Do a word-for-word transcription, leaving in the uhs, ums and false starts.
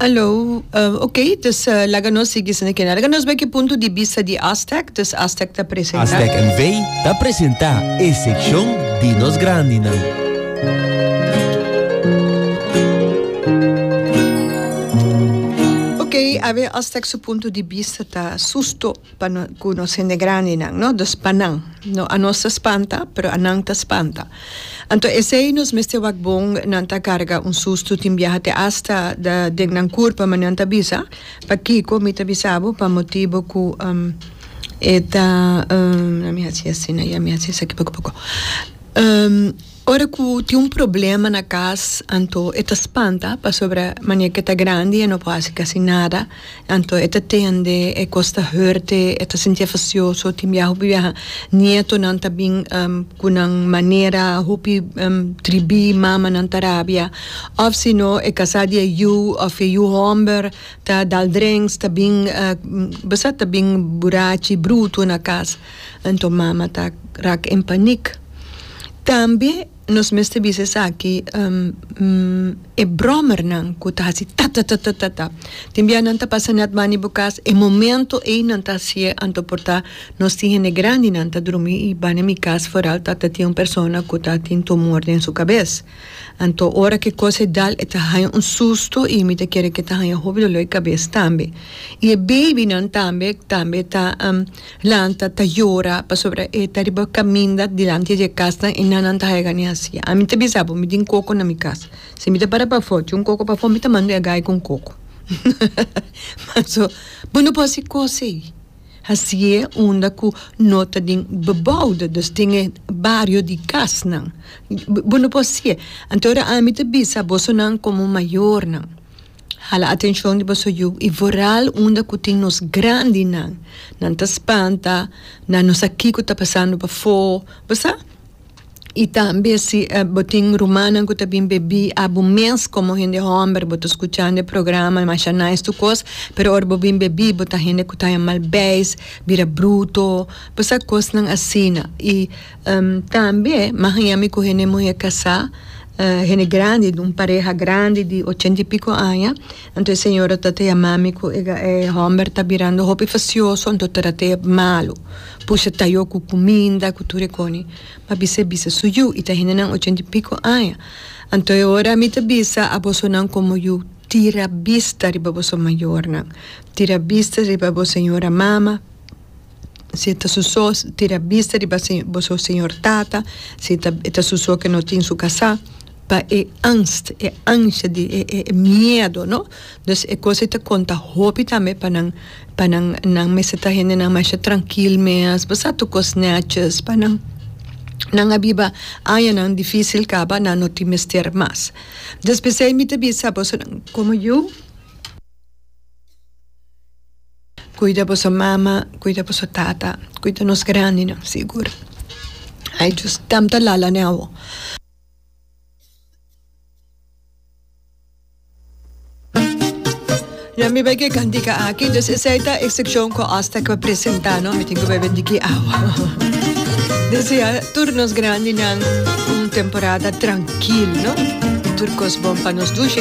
Hallo, uh, oké, dus uh, laga nos sigui esaki. Laga nos wak e punto di bista di Astec, dus Astec ta presentá. Astec N V ta presentá e sekshon di nos grandinan. Oké, awe Astec su punto di bista ta susto pa no, ku nos hende grandinan, no? Dus pa nan. No, anos ta spanta, pero anan ta spanta. Anto esei nos mester wak bon, nan ta karga un susto tin biaha te hasta da den nan kurpa, ma nan ta bisa, pakiko mi ta bisabo, pa motibo ku um, e ta um, na mi hasi asina, ya mi hasi esaki poko poko. Um, ora ku tin un problema na kas, anto e ta spanta, pasobra manera ku e ta grandi e no por hasi kasi nada, anto e ta tende e kos ta hurt e, e ta sinti fasioso, tin biaha hopi biaha nietonan ta bin um, ku nan manera hopi um, tribi, mamanan ta rabia, òf si no e kasá di e yu òf e yu hòmber ta dal drinks, ta bin uh, basta ta bin burachi bruto na kas, anto mama ta rak in paniek. Tambe nos mester bisa esaki, um, mm, e bròmernan ku ta hasi ta ta ta ta ta ta. Tin bia nan ta pasa net banda bo kas, e momento ei nan ta hasié, anto por ta nos tin hende grandinan ta drumi i banda mi kas vooral ta ta tin un persona ku ta tin tumor den su kabes. Anto ora ku e kos e dal e ta haña un susto i mi ta kere ku e ta haña hopi doló di kabes tambe. I e babynan tambe tambe ta um, lanta ta yora pasobra e ta riba kaminda dilanti di e kasnan i nan nan ta haña gana hasi. Ami ta bisa bo, mi tin koko na mi kas. Si mi ta para pafó, tin un koko pafó, mi ta manda e gai ku un koko. Paso bo no por hasi kos ei. Hasié unda ku no ta den bebouwde, dus den e bario di kasnan. Bo no por hasié. Anto ora ami ta bisa bosonan komo mayornan, hala atenshon di boso yu i vooral unda ku tin nos grandinan. Nan ta spanta, nan no sa kiko ta pasando pafó, bo sa? I tambe si uh, bo tin rumannan ku ta bin bebí, abo mes komo hende hòmber, bo ta skuchando e programa, masha nice tur kos, pero ora bo bin bebí, bo ta hende ku ta mal beis, bira bruto, bo sa, kosnan asina. I um, tambe, m'a haña mi ku hende muhé kasá, uh, hende grandi, un pareha grandi di ochenta i piko aña, anto e señora ta ta yama mi ku e, e hòmber ta birando hopi fasioso, anto trat'é malu. Pusha tayo ku kuminda, ku tur e kos. Ma bisa bisa su yu, i ta hendenan ochenta i piko aña. Anto ora mi ta bisa abosonan komo yu, tira bista riba boso mayornan. Tira bista riba bo señora mama, si ta su so, tira bista riba boso señor tata, si ta, ta su so ku no tin su kasá, pa e angst, e ansha di e, e, e miedo, no? Dus e kos ta konta hopi tambe pa nan pa nan nan mester ta hendenan mas trankil mes, basta tur kos netjes, pa nan nan a biba añanan difísil kaba, nan no tin mester mas. Dus p'esei mi ta bisa boso komo yu, kuida boso mama, kuida boso tata, kuida nos grandinan, sigur. Ai, just tam ta lala ne awo. Ja, mi bai ku e kantika aki, dus esei ta e sekshon ku Aztec a presentá, no? Mi tin ku bebe diki awa. Dus ja, tur nos grandinan un temporada trankil, no? Tur kos bon pa nos dushi.